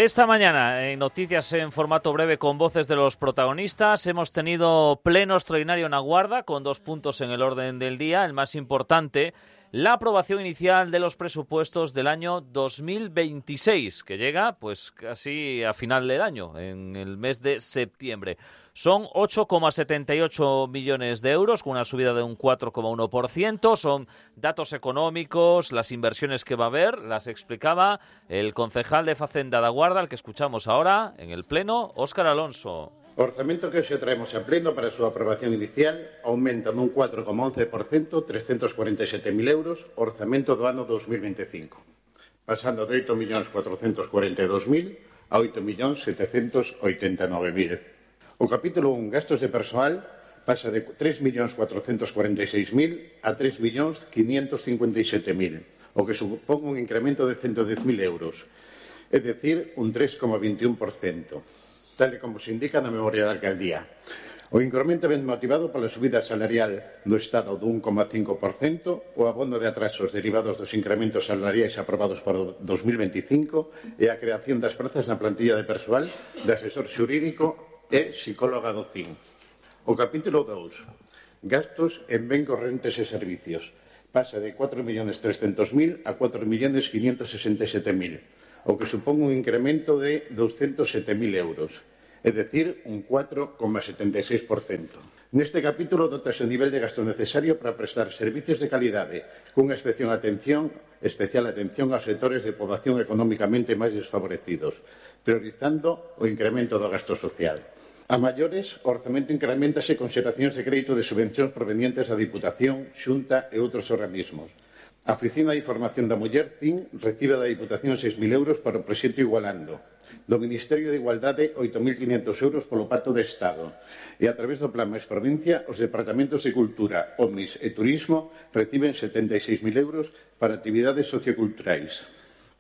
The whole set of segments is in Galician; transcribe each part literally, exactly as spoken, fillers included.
esta mañana en noticias en formato breve con voces de los protagonistas hemos tenido pleno extraordinario en Aguarda con dos puntos en el orden del día. El más importante, la aprobación inicial de los presupuestos del año dos mil veintiséis, que llega pues casi a final del año, en el mes de septiembre. Son ocho coma setenta y ocho millones de euros, con una subida de un cuatro coma uno por ciento. Son datos económicos, las inversiones que va a haber, las explicaba el concejal de Facenda de Aguarda, al que escuchamos ahora en el Pleno, Óscar Alonso. O orzamento que hoxe traemos a pleno para a súa aprobación inicial aumenta nun cuatro coma once por ciento, trescentos cuarenta e sete mil euros, o orzamento do ano dos mil veinticinco, pasando de oito millóns cuatrocentos cuarenta e dous mil a oito millóns setecentos oitenta e nove mil. O capítulo un, gastos de persoal, pasa de tres millóns cuatrocentos cuarenta e seis mil a tres millóns quinientos cincuenta e sete mil, o que supón un incremento de ciento dez mil euros, é dicir, un tres coma veintiún por ciento, tal e como se indica na memoria da alcaldía. O incremento ven motivado pola subida salarial do Estado do un coma cinco por ciento, o abono de atrasos derivados dos incrementos salariais aprobados para o dos mil veinticinco e a creación das prazas na plantilla de persoal de asesor xurídico e psicóloga do C I N. O capítulo dous, gastos en ben correntes e servicios, pasa de cuatro millóns trescentos mil a cuatro millóns quinientos sesenta e sete mil, o que supón un incremento de douscentos sete mil euros, é dicir, un cuatro coma setenta e seis por ciento. Neste capítulo dotase o nivel de gasto necesario para prestar servicios de calidade, cunha especial atención, especial atención aos sectores de poboación económicamente máis desfavorecidos, priorizando o incremento do gasto social. A maiores, o orzamento incrementase con xeracións de crédito de subvencións provenientes da Diputación, Xunta e outros organismos. A Oficina de Información da Muller, C I N, recibe da Diputación seis mil euros para o proxecto Igualando, do Ministerio de Igualdade oito mil quinhentos euros polo Pacto de Estado, e a través do Plan Mais Provincia, os Departamentos de Cultura, O M I S e Turismo reciben setenta e seis mil euros para actividades socioculturais.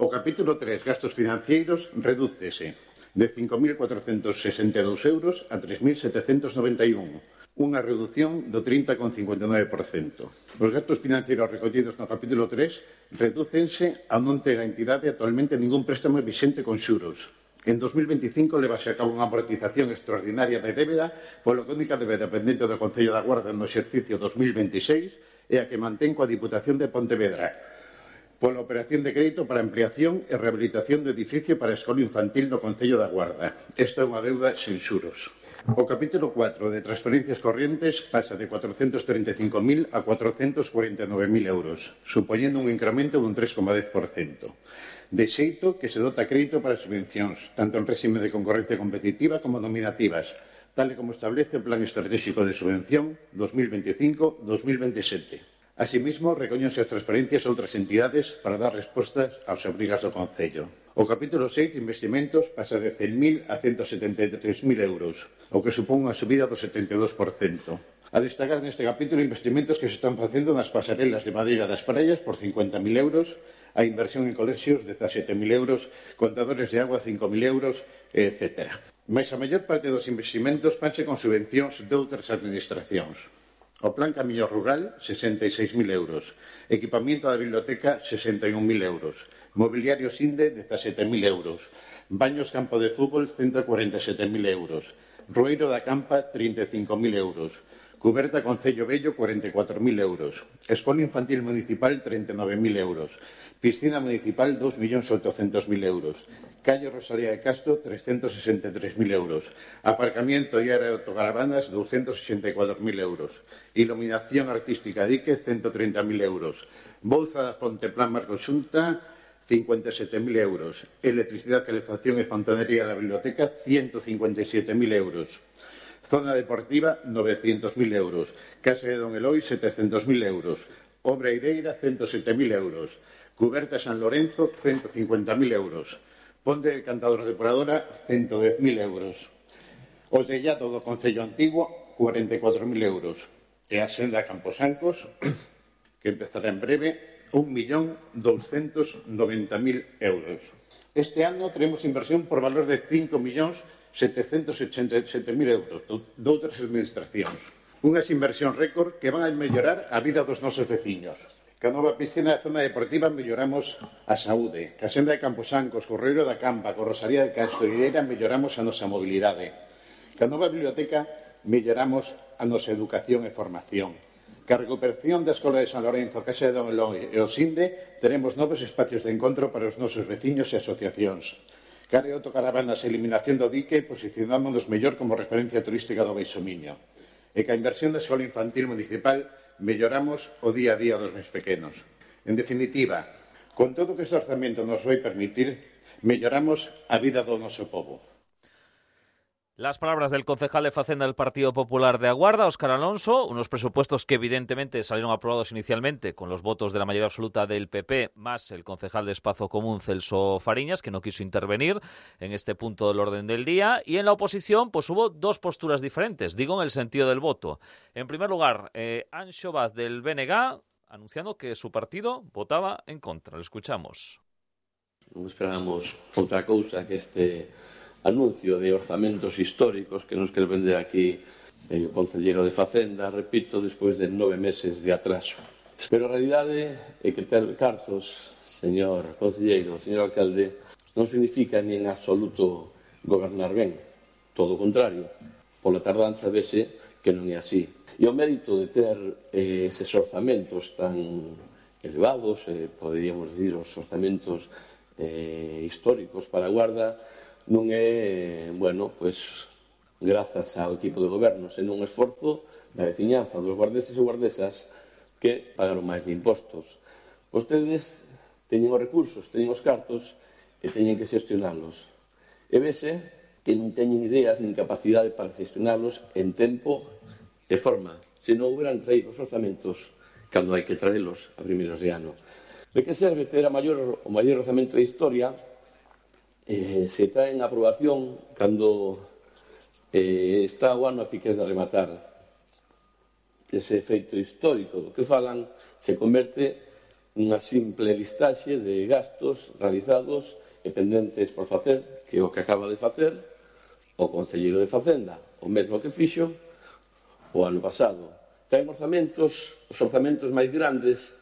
O capítulo tres, gastos financeiros, redúcese de cinco mil cuatrocentos sesenta e dous euros a tres mil setecentos noventa e un, unha reducción do trinta coma cincuenta e nove por ciento. Os gastos financeiros recollidos no capítulo tres redúcense a non ter a entidade actualmente ningún préstamo vixente con xuros. En dos mil veinticinco levase a cabo unha amortización extraordinaria de débeda, polo que a única débeda pendente do Concello da Guarda no exercicio dos mil veintiséis é a que mantén coa Diputación de Pontevedra, pola operación de crédito para ampliación e rehabilitación do edificio para a escola infantil no Concello da Guarda. Esta é unha deuda sen xuros. O capítulo cuatro de transferencias corrientes pasa de cuatrocentos trinta e cinco mil a cuatrocentos cuarenta e nove mil euros, supoñendo un incremento dun tres coma dez por ciento. De xeito que se dota crédito para subvencións, tanto en réxime de concorrencia competitiva como nominativas, tal e como establece o Plan Estratégico de Subvención dos mil veinticinco a dos mil veintisiete. Asimismo, recóñense as transferencias a outras entidades para dar respostas aos obrigas do Concello. O capítulo seis de investimentos pasa de cen mil a ciento setenta e tres mil euros, o que supón unha subida do setenta e dous por ciento. A destacar neste capítulo investimentos que se están facendo nas pasarelas de madeira das praias por cincuenta mil euros, a inversión en colexios de dezasete mil euros, contadores de agua cinco mil euros, etcétera. Mais a maior parte dos investimentos fanse con subvencións de outras administracións. O Plan Camiño Rural, sesenta e seis mil euros. Equipamiento da biblioteca, sesenta e un mil euros. Mobiliario Sinde, dezasete mil euros. Baños Campo de Fútbol, ciento cuarenta e sete mil euros. Rueiro da Campa, trinta e cinco mil euros. Cuberta Concello Vello, cuarenta e catro mil euros. Escola Infantil Municipal, treinta e nove mil euros. Piscina Municipal, dos millóns oitocentos mil euros. Calle Rosalía de Castro, trescentos sesenta e tres mil euros. Aparcamiento e área de autocaravanas, doscientos sesenta e catro mil euros. Iluminación artística dique, ciento treinta mil euros. Bouza da Fonte Plan Marco Xunta, cincuenta e sete mil euros. Electricidade, calefacción e fontanería da biblioteca, ciento cincuenta e sete mil euros. Zona deportiva, novecientos mil euros. Casa de Don Eloi, setecientos mil euros. Obra Ireira, ciento sete mil euros. Cuberta San Lorenzo, ciento cincuenta mil euros. Ponte de Cantador Depuradora, ciento dez mil euros. O tellado do Concello Antigo, cuarenta e catro mil euros. E a senda Camposancos, que empezará en breve, un millón doscientos noventa mil euros. Este ano teremos inversión por valor de cinco millóns setecentos ochenta e sete mil euros de outras administracións. Unhas inversións récord que van a mellorar a vida dos nosos veciños. Ca nova piscina da zona deportiva melloramos a saúde. Ca senda de Camposancos, Correiro da Campa, co Rosalía de Castro e Ideira melloramos a nosa mobilidade. Ca nova biblioteca melloramos a nosa educación e formación. Ca recuperación da Escola de San Lorenzo, Casa de Don Eloi e o Sinde, teremos novos espacios de encontro para os nosos veciños e asociacións. Ca de autocaravanas e eliminación do dique, posicionámonos mellor como referencia turística do Baixo Miño. E ca inversión da Escola Infantil Municipal melloramos o día a día dos máis pequenos. En definitiva, con todo o que este orzamento nos vai permitir, melloramos a vida do noso pobo. Las palabras del concejal de Facenda del Partido Popular de Aguarda, Óscar Alonso, unos presupuestos que evidentemente salieron aprobados inicialmente con los votos de la mayoría absoluta del P P, más el concejal de Espazo Común, Celso Fariñas, que no quiso intervenir en este punto del orden del día. Y en la oposición pues hubo dos posturas diferentes, digo en el sentido del voto. En primer lugar, eh, Anxo Vaz del B N G anunciando que su partido votaba en contra. Lo escuchamos. Non esperábamos outra cousa que este anuncio de orzamentos históricos que nos quere vender aquí eh, o concelleiro de Facenda, repito, despois de nove meses de atraso. Pero a realidade é que ter cartos, señor concelleiro, señor alcalde, non significa ni en absoluto gobernar ben. Todo o contrario. Pola tardanza vese que non é así. E o mérito de ter eh, eses orzamentos tan elevados, eh, poderíamos dicir os orzamentos eh, históricos para a Guarda, non é, bueno, pois, grazas ao equipo de goberno, senón un esforzo da veciñanza, dos guardeses e guardesas que pagaron máis de impostos. Vostedes teñen os recursos, teñen os cartos e teñen que xestionalos. E vese que non teñen ideas nin capacidade para xestionalos en tempo e forma. Se non houberan traído os orzamentos cando hai que traelos a primeiros de ano. De que serve ter a maior, o maior orzamento da historia Eh, se trae en aprobación cando eh, está o ano a piques de rematar. Ese efeito histórico do que falan se converte nunha simple listaxe de gastos realizados e pendentes por facer, que é o que acaba de facer o concelleiro de Facenda, o mesmo que fixo o ano pasado. Traen orzamentos, os orzamentos máis grandes,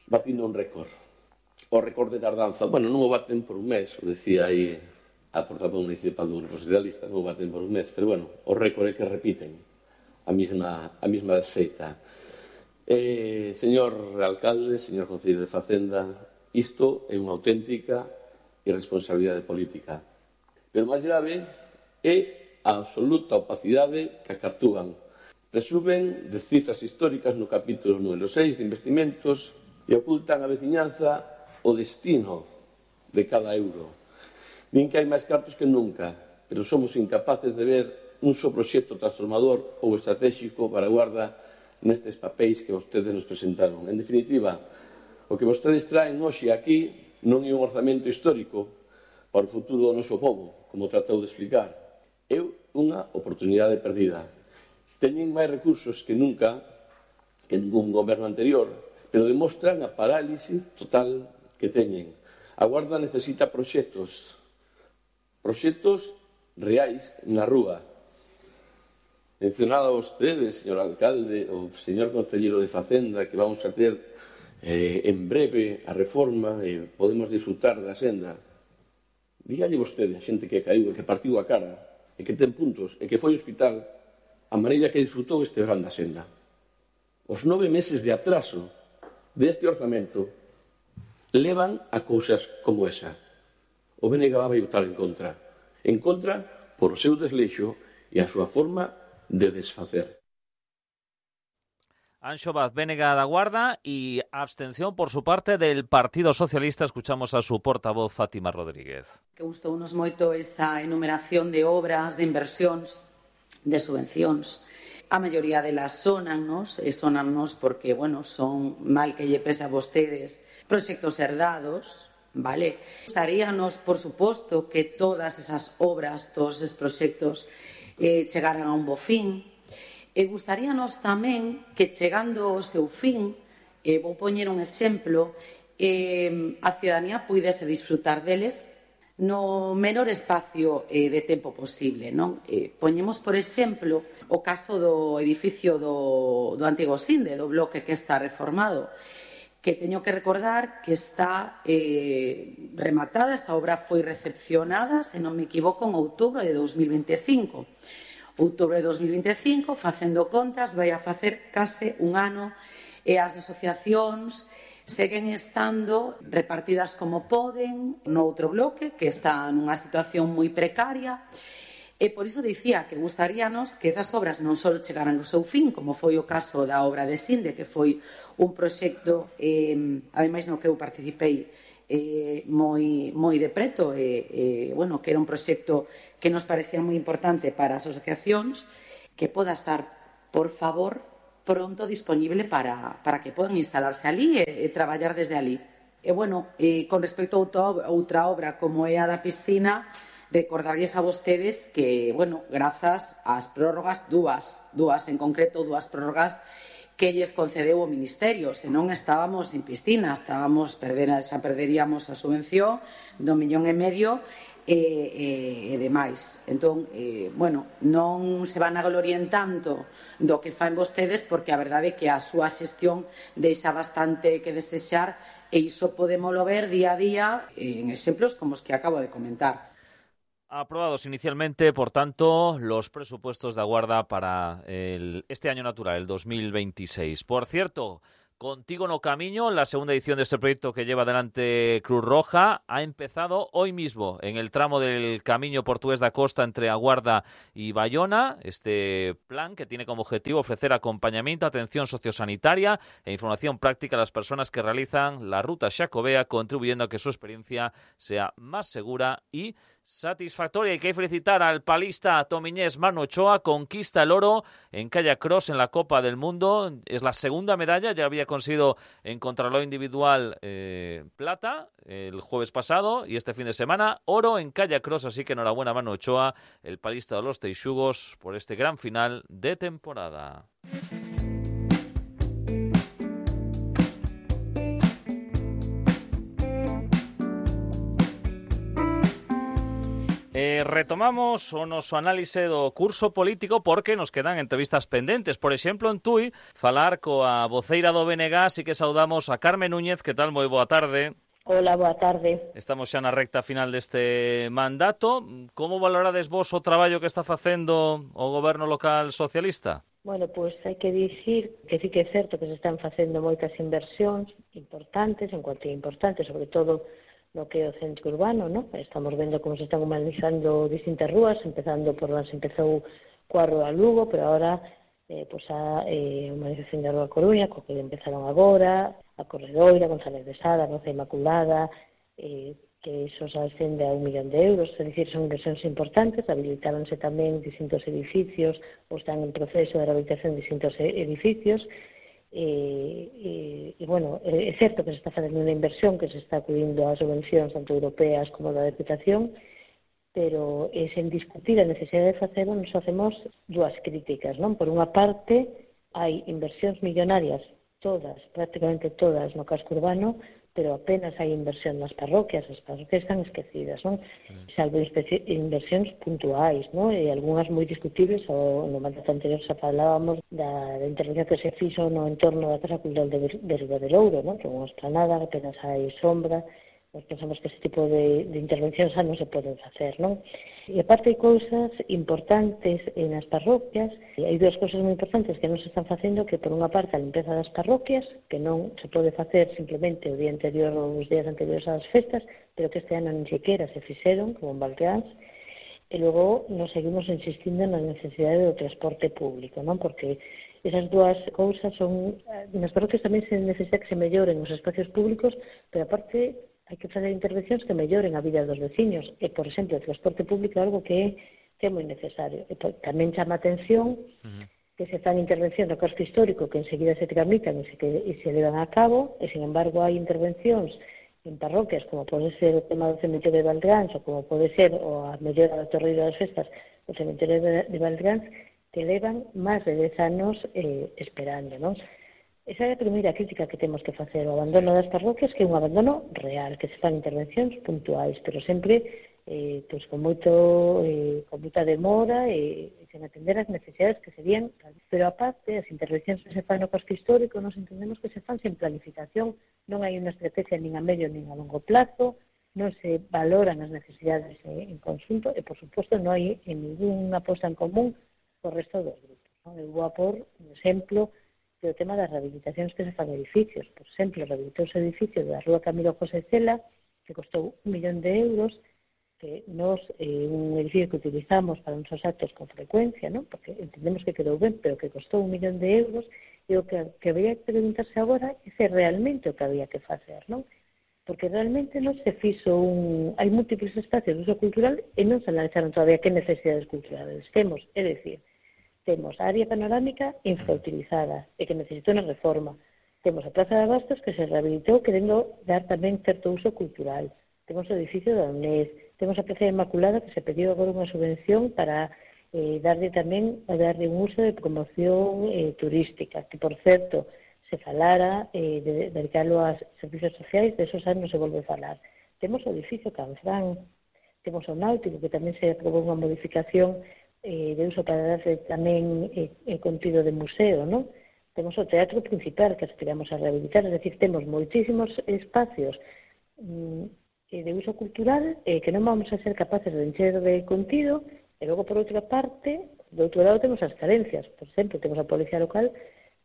batindo un récord. O récord de tardanza, bueno, non o baten por un mes, o decía aí a portavoz municipal do Grupo Socialista, non o baten por un mes, pero bueno, o récord é que repiten a mesma, a mesma desfeita. Eh, señor alcalde, señor concelleiro de Facenda, isto é unha auténtica irresponsabilidade política. Pero máis grave é a absoluta opacidade que acatúan. Presumen de cifras históricas no capítulo número seis de investimentos e ocultan a veciñanza o destino de cada euro. Din que hai máis cartos que nunca, pero somos incapaces de ver un só proxecto transformador ou estratégico para a Guarda nestes papéis que vostedes nos presentaron. En definitiva, o que vostedes traen hoxe aquí non é un orzamento histórico para o futuro do noso povo, como tratou de explicar. É unha oportunidade perdida. Teñen máis recursos que nunca, que ningún goberno anterior, pero demostran a parálise total que teñen. A Guarda necesita proxectos, proxectos reais na rúa. Mencionado a vostedes, señor alcalde, o señor concelleiro de Facenda, que vamos a ter eh, en breve a reforma e podemos disfrutar da senda. Dígalle vostede a xente que caíu e que partiu a cara e que ten puntos e que foi ao hospital a maneira que disfrutou este verán da senda. Os nove meses de atraso deste orzamento levan a cousas como esa. O B N G vai votar en contra. En contra por o seu desleixo e a súa forma de desfacer. Anxo Vaz, B N G da Guarda, y abstención por su parte del Partido Socialista. Escuchamos a su portavoz, Fátima Rodríguez. Que gustounos moito esa enumeración de obras, de inversións, de subvencións. A maioría delas sonannos, e sonannos porque, bueno, son, mal que lle pese a vostedes, proxectos herdados, vale? Gustaríanos, por suposto, que todas esas obras, todos esos proxectos eh, chegaran a un bo fin. E gustaríanos tamén que, chegando ao seu fin, eh, vou poñer un exemplo, eh, a ciudadanía puidese disfrutar deles no menor espacio eh, de tempo posible, non? Eh, poñemos, por exemplo, o caso do edificio do, do antigo Sinde, do bloque que está reformado, que teño que recordar que está eh, rematada, esa obra foi recepcionada, se non me equivoco, en outubro de dos mil veinticinco. Outubro de dos mil veinticinco, facendo contas, vai a facer case un ano e as asociacións seguen estando repartidas como poden no outro bloque, que está nunha situación moi precaria. E por iso dicía que gustaríanos que esas obras non só chegaran ao seu fin, como foi o caso da obra de Sinde, que foi un proxecto, eh, ademais no que eu participei eh, moi, moi de preto, e, eh, bueno, que era un proxecto que nos parecía moi importante para as asociacións, que poda estar, por favor, pronto disponible para, para que podan instalarse ali e, e traballar desde ali. E, bueno, eh, con respecto a outra obra como é a da piscina, recordarlles a vostedes que, bueno, grazas ás prórrogas, dúas, dúas en concreto, dúas prórrogas que lles concedeu o Ministerio, senón estábamos sin piscina, estábamos perder, xa perderíamos a subvención do millón e medio e, e, e demais. Entón, eh, bueno, non se van a glorien tanto do que fan vostedes, porque a verdade é que a súa xestión deixa bastante que desexar, e iso podémolo ver día a día en exemplos como os que acabo de comentar. Aprobados inicialmente, por tanto, los presupuestos de Aguarda para el, este año natural, el dos mil veintiséis. Por cierto, Contigo no Camiño, la segunda edición de este proyecto que lleva adelante Cruz Roja, ha empezado hoy mismo en el tramo del Camiño Portugués da Costa entre Aguarda y Bayona. Este plan que tiene como objetivo ofrecer acompañamiento, atención sociosanitaria e información práctica a las personas que realizan la ruta xacobea, contribuyendo a que su experiencia sea más segura y satisfactoria. Hay que felicitar al palista tomiñés Manu Ochoa, conquista el oro en Kayak Cross en la Copa del Mundo. Es la segunda medalla, ya había conseguido en contrarreloj individual eh, plata el jueves pasado, y este fin de semana oro en Kayak Cross, así que enhorabuena Manu Ochoa, el palista de los Teixugos, por este gran final de temporada. Eh, retomamos o noso análise do curso político, porque nos quedan entrevistas pendentes. Por exemplo, en Tui, falar coa voceira do B N G, así que saudamos a Carmen Núñez. Que tal? Moi boa tarde. Hola, boa tarde. Estamos xa na recta final deste mandato. Como valorades vos o traballo que está facendo o goberno local socialista? Bueno, pois pues hai que dicir que sí que é certo que se están facendo moitas inversións importantes, en cuanto importantes, sobre todo no que é o centro urbano, ¿no? Estamos vendo como se están humanizando distintas rúas, empezando por las empezou coa Rúa Lugo, pero ahora eh, pues a eh, humanización da Rúa Coruña, co que empezaron agora, a Corredoira, González de Sada, Roza Inmaculada, eh, que iso se ascende a un millón de euros, é dicir, son inversións importantes. Habilitáronse tamén distintos edificios, ou están en proceso de rehabilitación de distintos edificios. E, e, e, bueno, é certo que se está facendo unha inversión, que se está acudindo a subvencións tanto europeas como da Deputación, pero é sen discutir a necesidade de facelo, nos facemos dúas críticas, non? Por unha parte, hai inversións millonarias, todas, prácticamente todas, no casco urbano, pero apenas hai inversión nas parroquias, as parroquias están esquecidas, non? Salvo inversións puntuais, non? E algunhas moi discutibles, ou no mandato anterior xa falábamos da, da intervención que se fixo no entorno da Casa Cultural de, de Ribadelouro, non? Que é unha esplanada, apenas hai sombra. Nós pensamos que ese tipo de, de intervencións xa non se poden facer, non? E aparte hai cousas importantes nas parroquias, e hai dúas cousas moi importantes que non se están facendo, que por unha parte a limpeza das parroquias, que non se pode facer simplemente o día anterior ou os días anteriores ás festas, pero que este ano nin sequera se fixeron, como en Valdeans, e logo nos seguimos insistindo na necesidade do transporte público, non? Porque esas dúas cousas son... Nas parroquias tamén se necesita que se melloren os espacios públicos, pero aparte hai que fazer intervencións que melloren a vida dos veciños. E, por exemplo, o transporte público é algo que é, que é moi necesario. E tamén chama a atención uh-huh. que se fan intervencións no casco histórico que enseguida se tramitan e se, que, e se levan a cabo, e, sin embargo, hai intervencións en parroquias, como pode ser o tema do cemiterio de Valdeans, ou como pode ser o a mellora da Torreira das Festas, o cemiterio de, de Valdeans, que levan máis de dez anos eh, esperando, non? Esa é a primeira crítica que temos que facer, o abandono das parroquias, que é un abandono real, que se fan intervencións puntuais, pero sempre eh, pois con moito eh, con moita demora e eh, sen atender as necesidades que serían, pero aparte as intervencións que se fan no casco histórico nos entendemos que se fan sen planificación, non hai unha estrategia nin a medio nin a longo plazo, non se valoran as necesidades eh, en conjunto e, por suposto, non hai en ninguna posta en común co resto dos grupos. Non? Eu vou a por un exemplo do tema das rehabilitacións que se fan edificios. Por exemplo, rehabilitouse o edificio da Rúa Camilo José Cela, que costou un millón de euros, que nos, eh, un edificio que utilizamos para nosos actos con frecuencia, ¿no? Porque entendemos que quedou ben, pero que costou un millón de euros, e o que, que había que preguntarse agora é se realmente o que había que facer, non? Porque realmente non se fixo un... Hai múltiples espacios de uso cultural e non se analizaron todavía que necesidades culturales temos, é dicir, temos a área panorámica infrautilizada e que necesita unha reforma, temos a Praza de Abastos que se rehabilitou querendo dar tamén certo uso cultural, temos o edificio da UNED, temos a Praza Inmaculada que se pediu agora unha subvención para eh, darle tamén a darle un uso de promoción eh, turística, que por certo se falara eh, de dedicarlo a servicios sociais, de esos anos se volve a falar. Temos o edificio Canfrán, temos o Náutico que tamén se aprobou unha modificación eh, de uso para darle tamén eh, eh, contido de museo, non? Temos o Teatro Principal que aspiramos a rehabilitar, es decir, temos moitísimos espacios mm, de uso cultural eh, que non vamos a ser capaces de encher de contido e logo por outra parte do outro lado temos as carencias, por exemplo temos a policía local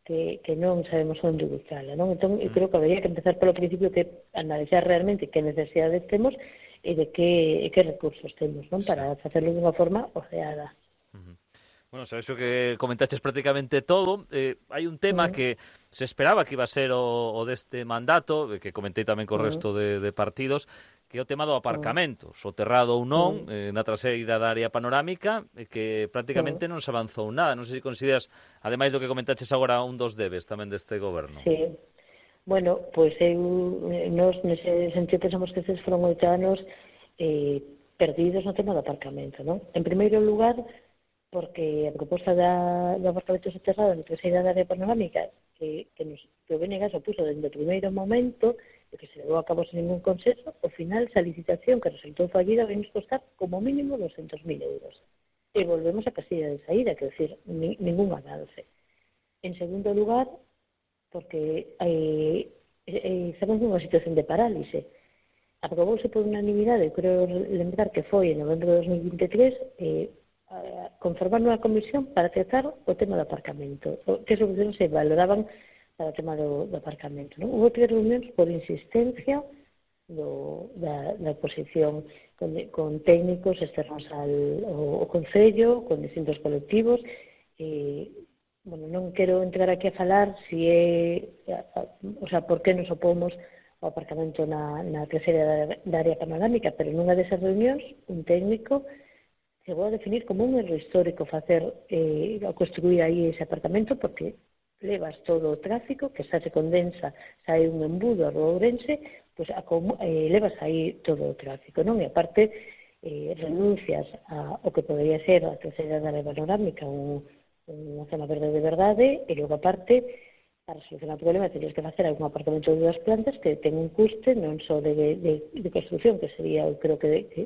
que, que non sabemos onde ubicarla, non? Entón eu creo que habría que empezar polo principio que analizar realmente que necesidades temos e de que, e que recursos temos, non? Para facerlo dunha forma oceada. Uh-huh. Bueno, sabes o que comentaches prácticamente todo. Eh, hai un tema uh-huh. que se esperaba que iba a ser o, o deste mandato, que comentei tamén co uh-huh. resto de, de partidos, que é o tema do aparcamento, uh-huh. soterrado ou non, uh-huh. eh, na traseira da área panorámica, e que prácticamente uh-huh. non se avanzou nada. Non sei se consideras, ademais do que comentaches agora, un dos debes tamén deste goberno. Sí. Bueno, pois eu, nos nese sentido pensamos que estes foron oito anos eh, perdidos no tema do aparcamento, non? En primeiro lugar, porque a proposta da, do aparcamento soterrado na traseira da área panorámica que, que, nos, que o B N G se opuso desde o primeiro momento e que se levou a cabo sen ningún consenso, ao final esa licitación que resultou fallida vai nos costar como mínimo doscientos mil euros. E volvemos a casilla de saída, que decir, ni, ningún avance. En segundo lugar, porque eh, eh, estamos nunha situación de parálise. Aprobouse por unanimidade, eu creo lembrar que foi en novembro de dos mil vinte e tres, eh, conformar unha comisión para tratar o tema do aparcamento, que solucións se valoraban para o tema do, do aparcamento. Non? Houve tres reunións por insistencia do, da, da oposición con, con técnicos externos al o, o Concello, con distintos colectivos. E, bueno, non quero entrar aquí a falar si é, a, a, o sea, por que nos opomos ao aparcamento na, na traseira da, da área panorámica, pero nunha desas reunións un técnico chegou a definir como un erro histórico facer eh, a construir aí ese apartamento porque levas todo o tráfico que xa se condensa, xa hai un embudo a Rúa Ourense, pois a, eh, levas aí todo o tráfico, non? E aparte eh, renuncias a, o que podería ser a traseira da área panorámica, un, unha zona verde de verdade, e logo aparte para solucionar o problema tenías que facer algún apartamento de dúas plantas que ten un custe non só de, de, de construcción, que sería, eu creo que, de, que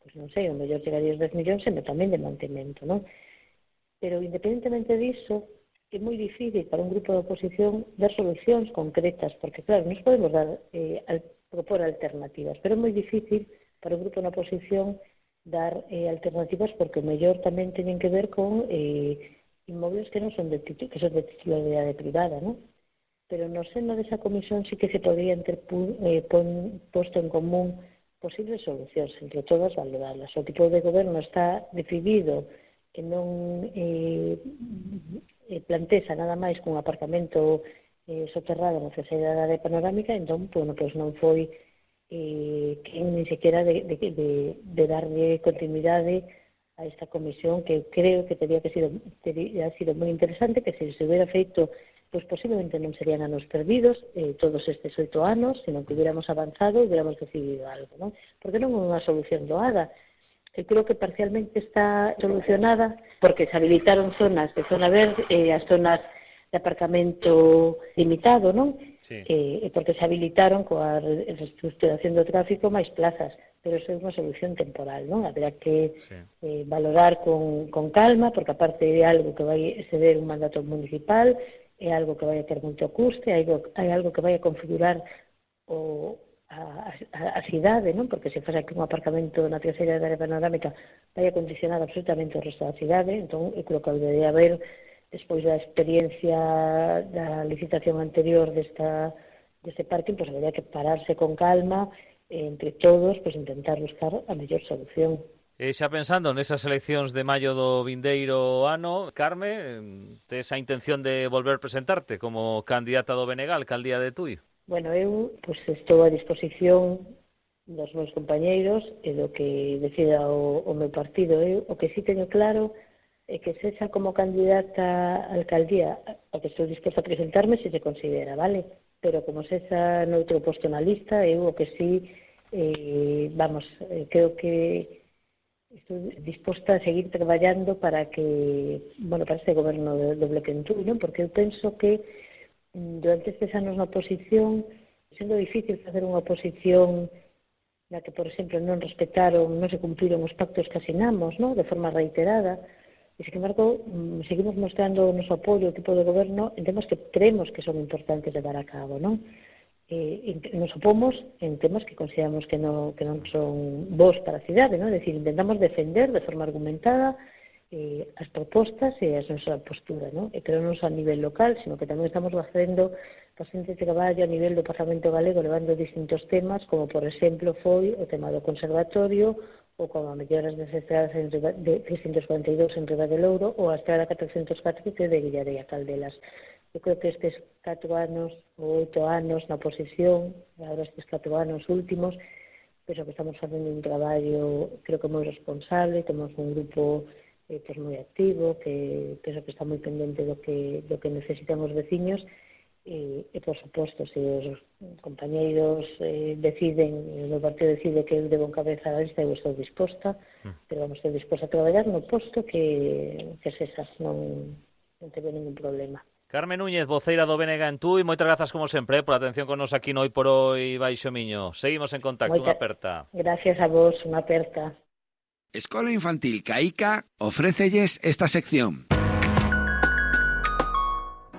pues non sei, o mellor chegaría aos dez millóns, pero tamén de mantemento, non? Pero, independentemente diso, é moi difícil para un grupo de oposición dar solucións concretas, porque, claro, nos podemos dar, eh, al, propor alternativas, pero é moi difícil para un grupo de oposición dar eh, alternativas porque o mellor tamén teñen que ver con eh, inmobles que non son de título, que son de titularidade privada, non? Pero no seno desa comisión sí que se podrían ter eh, pon, posto en común posibles solucións, entre todas valorarlas. O tipo de goberno está decidido que non eh, eh, plantexa nada máis que un aparcamento eh, soterrado na traseira da área panorámica, entón, bueno, pois non foi eh, que ni sequera de, de, de, de darlle continuidade a esta comisión que creo que teria que sido, teria sido moi interesante, que se se hubiera feito pois posiblemente non serían anos perdidos eh, todos estes oito anos, sino que hubiéramos avanzado e hubiéramos decidido algo, non? Porque non é unha solución doada. Eu creo que parcialmente está solucionada porque se habilitaron zonas de zona verde e eh, as zonas de aparcamento limitado, non? Sí. E eh, porque se habilitaron coa reestructuración do tráfico máis plazas, pero eso é unha solución temporal, non? Haberá que sí. eh, valorar con, con calma, porque aparte é algo que vai exceder un mandato municipal, é algo que vai a ter moito custe, é algo, é algo que vai a configurar o, a, a, a cidade, non? Porque se faz aquí un aparcamento na terceira área panorámica vai a condicionar absolutamente o resto da cidade, entón eu creo que debería haber, despois da experiencia da licitación anterior desta, deste parking, pois habería que pararse con calma, entre todos, pois intentar buscar a mellor solución. E xa pensando nesas eleccións de maio do vindeiro ano, Carme, tes a intención de volver presentarte como candidata do B N G, alcaldía de Tui? Bueno, eu pois, estou a disposición dos meus compañeiros e do que decida o, o meu partido. Eu o que sí teño claro é que sexa como candidata a alcaldía a que estou disposta a presentarme se se considera, vale? Pero como sexa noutro posto na lista, eu o que sí, eh, vamos, eh, creo que estou disposta a seguir traballando para que, bueno, para este goberno do, do Bloque en Tui, non? Porque eu penso que durante estes anos na oposición, sendo difícil facer unha oposición na que, por exemplo, non respetaron, non se cumpriron os pactos que asinamos, non? De forma reiterada, e, sin embargo, seguimos mostrando o noso apoio ao tipo de goberno en temas que creemos que son importantes de dar a cabo, non? Eh, nos opomos en temas que consideramos que, no, que non son bons para a cidade, non? É dicir, intentamos defender de forma argumentada eh, as propostas e a nosa postura, non? E pero non só a nivel local, sino que tamén estamos facendo bastante traballo a nivel do Parlamento Galego levando distintos temas, como por exemplo foi o tema do conservatorio ou como a melloras das estradas en Riba, de trescentos cuarenta e dous en Riba de Louro ou a estrada catrocentos catro de Guillarei a Caldelas. Eu creo que estes catro anos ou oito anos na oposición, agora estes catro anos últimos, penso que estamos facendo un traballo, creo que moi responsable, temos un grupo eh, pues, moi activo, que penso que está moi pendente do que, do que necesitan os veciños, e, e por suposto, se os compañeiros eh, deciden, o partido decide que eu debo encabezar a lista, eu estou disposta, mm. pero vamos, estou disposta a traballar no posto que, que sesas, non, non teño ningún problema. Carme Núñez, voceira do B N G en Tui, moitas grazas como sempre por a atención con nos aquí no Hoy por Hoy Baixo Miño. Seguimos en contacto, unha aperta. Gracias a vos, unha aperta. Escola Infantil Caica ofrécelles esta sección.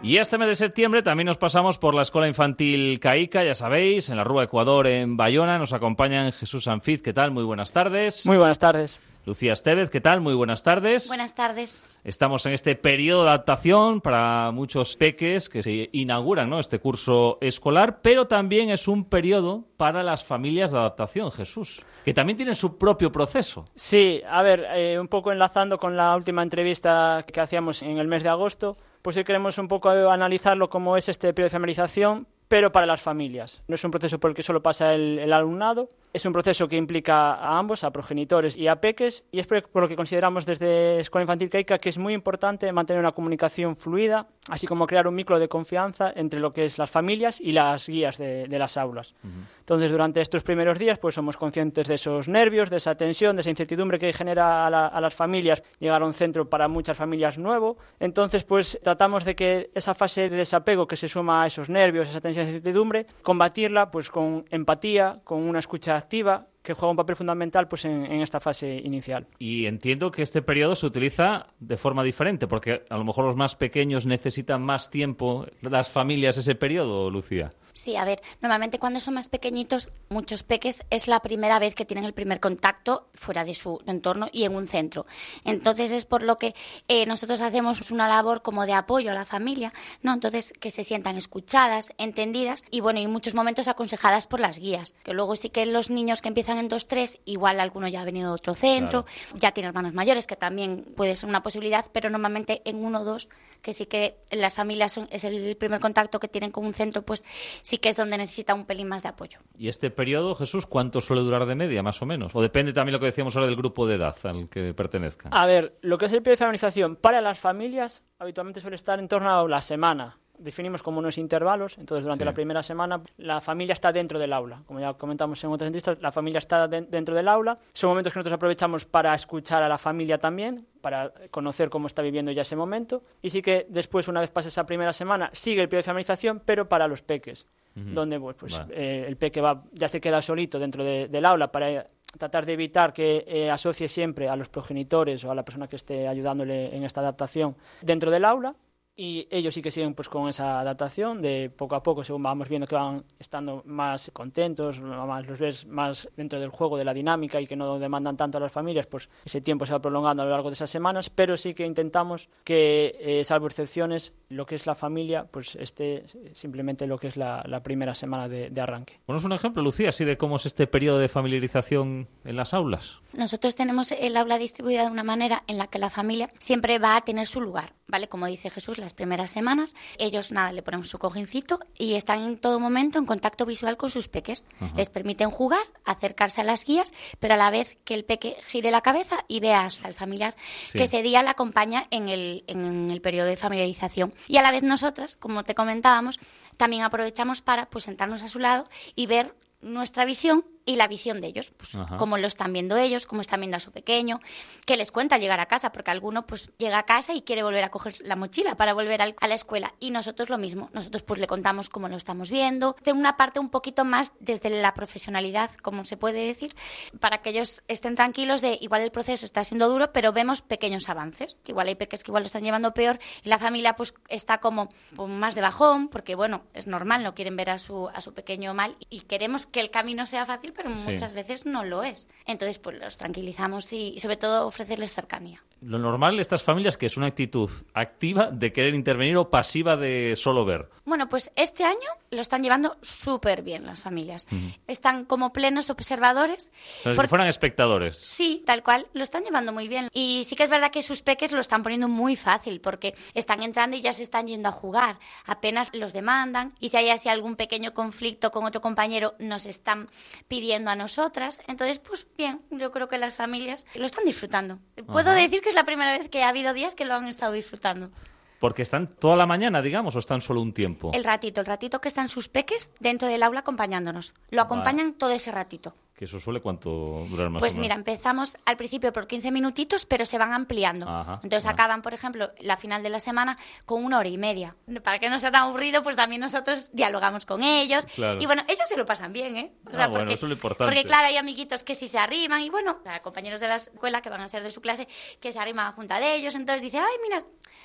Y este mes de septiembre también nos pasamos por la Escuela Infantil Caica, ya sabéis, en la Rúa Ecuador, en Bayona. Nos acompañan Jesús Sanfiz, ¿qué tal? Muy buenas tardes. Muy buenas tardes. Lucía Estevez, ¿qué tal? Muy buenas tardes. Buenas tardes. Estamos en este periodo de adaptación para muchos peques que se inauguran, ¿no?, este curso escolar, pero también es un periodo para las familias de adaptación, Jesús, que también tienen su propio proceso. Sí, a ver, eh, un poco enlazando con la última entrevista que hacíamos en el mes de agosto, pues hoy queremos un poco analizarlo como es este periodo de familiarización, pero para las familias. No es un proceso por el que solo pasa el, el alumnado, es un proceso que implica a ambos, a progenitores y a peques, y es por lo que consideramos desde Escuela Infantil Caica que es muy importante mantener una comunicación fluida, así como crear un vínculo de confianza entre lo que es las familias y las guías de, de las aulas. Uh-huh. Entonces, durante estos primeros días, pues somos conscientes de esos nervios, de esa tensión, de esa incertidumbre que genera a, la, a las familias llegar a un centro para muchas familias nuevo. Entonces, pues tratamos de que esa fase de desapego que se suma a esos nervios, esa tensión, esa incertidumbre, combatirla pues con empatía, con una escucha activa, que juega un papel fundamental pues en, en esta fase inicial. Y entiendo que este periodo se utiliza de forma diferente, porque a lo mejor los más pequeños necesitan más tiempo, las familias, ese periodo, Lucía. Sí, a ver, normalmente cuando son más pequeñitos, muchos peques es la primera vez que tienen el primer contacto fuera de su entorno y en un centro. Entonces es por lo que eh, nosotros hacemos una labor como de apoyo a la familia, ¿no? Entonces que se sientan escuchadas, entendidas y bueno, y en muchos momentos aconsejadas por las guías. Que luego sí que los niños que empiezan en dos tres, igual alguno ya ha venido de otro centro, claro. Ya tiene hermanos mayores, que también puede ser una posibilidad, pero normalmente en uno o dos, que sí que en las familias son, es el primer contacto que tienen con un centro, pues sí que es donde necesita un pelín más de apoyo. ¿Y este periodo, Jesús, cuánto suele durar de media, más o menos? ¿O depende también lo que decíamos ahora del grupo de edad al que pertenezcan? A ver, lo que es el periodo de familiarización para las familias habitualmente suele estar en torno a la semana. Definimos como unos intervalos, entonces durante sí. la primera semana la familia está dentro del aula, como ya comentamos en otras entrevistas, la familia está de- dentro del aula, son momentos que nosotros aprovechamos para escuchar a la familia también, para conocer cómo está viviendo ya ese momento, y sí que después, una vez pase esa primera semana, sigue el periodo de familiarización, pero para los peques, uh-huh. donde pues, pues vale. eh, el peque va, ya se queda solito dentro de, del aula para tratar de evitar que eh, asocie siempre a los progenitores o a la persona que esté ayudándole en esta adaptación dentro del aula. Y ellos sí que siguen pues con esa adaptación de poco a poco, según vamos viendo que van estando más contentos, más los ves más dentro del juego, de la dinámica y que no demandan tanto a las familias, pues ese tiempo se va prolongando a lo largo de esas semanas, pero sí que intentamos que, eh, salvo excepciones, lo que es la familia, pues esté simplemente lo que es la, la primera semana de, de arranque. Ponos un ejemplo, Lucía, así de cómo es este periodo de familiarización en las aulas. Nosotros tenemos el aula distribuida de una manera en la que la familia siempre va a tener su lugar, ¿vale? Como dice Jesús, las primeras semanas, ellos nada, le ponemos su cojincito y están en todo momento en contacto visual con sus peques. Ajá. Les permiten jugar, acercarse a las guías, pero a la vez que el peque gire la cabeza y vea al familiar sí. que ese día la acompaña en el, en el periodo de familiarización. Y a la vez nosotras, como te comentábamos, también aprovechamos para pues sentarnos a su lado y ver nuestra visión y la visión de ellos, pues Ajá. cómo lo están viendo ellos, cómo están viendo a su pequeño, qué les cuenta llegar a casa, porque alguno pues llega a casa y quiere volver a coger la mochila para volver al, a la escuela, y nosotros lo mismo, nosotros pues le contamos cómo lo estamos viendo, de una parte un poquito más desde la profesionalidad, como se puede decir, para que ellos estén tranquilos de igual el proceso está siendo duro, pero vemos pequeños avances, que igual hay peques que igual lo están llevando peor y la familia pues está como pues, más de bajón, porque bueno, es normal, no quieren ver a su, a su pequeño mal y queremos que el camino sea fácil, pero sí. muchas veces no lo es. Entonces, pues los tranquilizamos y, y sobre todo ofrecerles cercanía. Lo normal de estas familias que es una actitud activa de querer intervenir o pasiva de solo ver. Bueno, pues este año lo están llevando súper bien las familias. Uh-huh. Están como plenos observadores. Como si fueran espectadores. Sí, tal cual, lo están llevando muy bien. Y sí que es verdad que sus peques lo están poniendo muy fácil porque están entrando y ya se están yendo a jugar. Apenas los demandan y si hay así algún pequeño conflicto con otro compañero nos están pidiendo a nosotras. Entonces, pues bien, yo creo que las familias lo están disfrutando. Puedo Ajá. decir que es la primera vez que ha habido días que lo han estado disfrutando. Porque están toda la mañana, digamos, o están solo un tiempo. El ratito, el ratito que están sus peques dentro del aula acompañándonos. Lo acompañan vale. todo ese ratito. ¿Que eso suele cuánto durar más Pues o menos? Mira, empezamos al principio por quince minutitos, pero se van ampliando. Ajá, Entonces ajá. acaban, por ejemplo, la final de la semana con una hora y media. Para que no sea tan aburrido, pues también nosotros dialogamos con ellos. Claro. Y bueno, ellos se lo pasan bien, ¿eh? O sea, ah, bueno, porque, eso es lo importante. Porque claro, hay amiguitos que sí se arriman y bueno, compañeros de la escuela que van a ser de su clase que se arriman junto de ellos. Entonces dicen, ay, mira,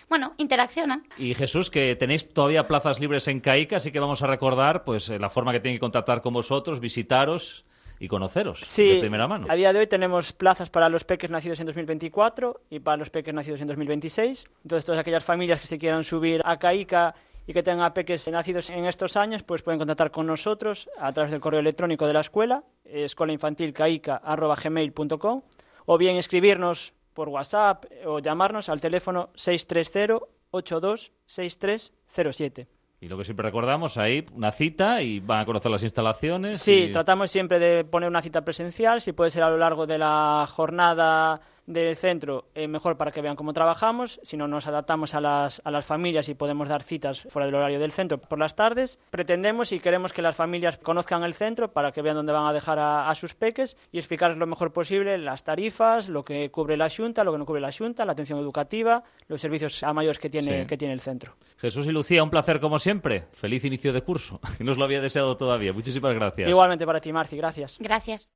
bueno, interaccionan. Y Jesús, que tenéis todavía plazas libres en CAICA, así que vamos a recordar pues la forma que tienen que contactar con vosotros, visitaros y conoceros sí, de primera mano. A día de hoy tenemos plazas para los peques nacidos en dos mil veinticuatro y para los peques nacidos en dos mil veintiséis. Entonces, todas aquellas familias que se quieran subir a CAICA y que tengan peques nacidos en estos años, pues pueden contactar con nosotros a través del correo electrónico de la escuela, escolainfantilcaica arroba gmail punto com, o bien escribirnos por WhatsApp o llamarnos al teléfono seis tres cero, ocho dos seis tres cero siete. Y lo que siempre recordamos, ahí una cita y van a conocer las instalaciones. Sí, y... tratamos siempre de poner una cita presencial, si puede ser a lo largo de la jornada del centro, eh, mejor para que vean cómo trabajamos. Si no, nos adaptamos a las, a las familias y podemos dar citas fuera del horario del centro por las tardes. Pretendemos y queremos que las familias conozcan el centro para que vean dónde van a dejar a, a sus peques y explicarles lo mejor posible las tarifas, lo que cubre la Xunta, lo que no cubre la Xunta, la atención educativa, los servicios a mayores que tiene, sí. que tiene el centro. Jesús y Lucía, un placer como siempre. Feliz inicio de curso. No os lo había deseado todavía. Muchísimas gracias. Igualmente para ti, Marci. Gracias. Gracias.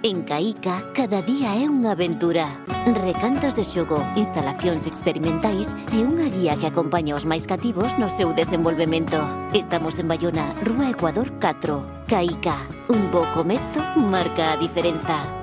En CAICA, cada día é unha aventura. Recantos de xogo, instalacións experimentais e unha guía que acompaña os máis cativos no seu desenvolvemento. Estamos en Bayona, Rúa Ecuador catro. CAICA, un bo comezo marca a diferenza.